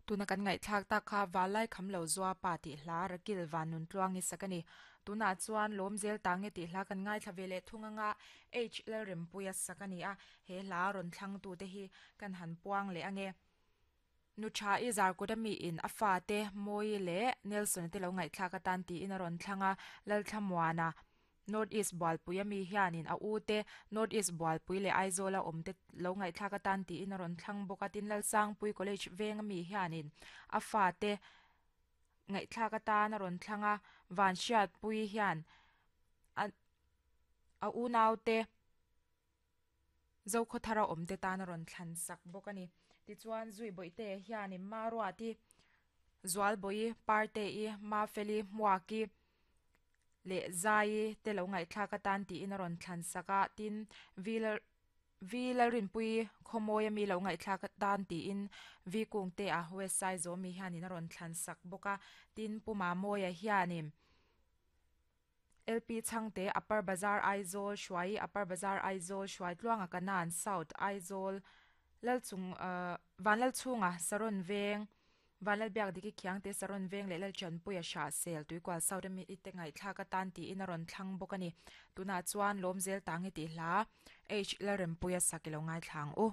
Tuna kan ngaihthlak tak kha Valai Kham Lo Zua Pa tih hla Rakil Van Nun Tluangi sak a ni. Tunah chuan Lawm Zel Ta Nge tih hla kan ngaithla ve leh thung anga H Lalrempuia sak a ni a, he hla rawn thlangtute hi kan han puang leh ange. Nu tha i Zarkut ami in a fate Mawi leh Nelson te lo ngaihthlak atan tiin a rawn thlang a, Lalthlamuana North East Bualpui ami hianin a u te North East Bualpui leh Aizawla awm te lo ngaihthlak atan tiin a rawn thlang bawk a, tin Lalsangpui College veng ami hianin a fate ngaihthlak atan a rawn thlang a, Vanhriatpui hian a a unaute. Zokhawthara awmte tan a rawn thlan sak bawk a ni. Tichuan, Zui Bawihtea hianin Maruati, Zualbawi, Parte-i, Mafeli, Hmuaki leh Zaii te lo ngaihthlak atan tiin a rawn thlan sak a. Tin, V Lalrinpuii Khawmawia mi lo ngaihthlak atan tiin V Kungtea West Saizawmi hianin a rawn thlan sak bawk a. Tin, Pu Mamawia hianin. LP Chhangte, Upper Bazar Aizawl, Hruai, Upper Bazar Aizawl, Hruaitluanga Kanan, South Aizawl, Lalchung Vanlalchhunga, Saron Veng, Vanlalbiakdiki Khiangte, Saron Veng leh Lalchanpuia Hrahsel, Tuikual South ami te ngaihthlak atan tiin a rawn thlang bawk a ni. Tunah chuan Lawmzel Tangi tih hla H Lalrempuia sak i lo ngaithla ang u.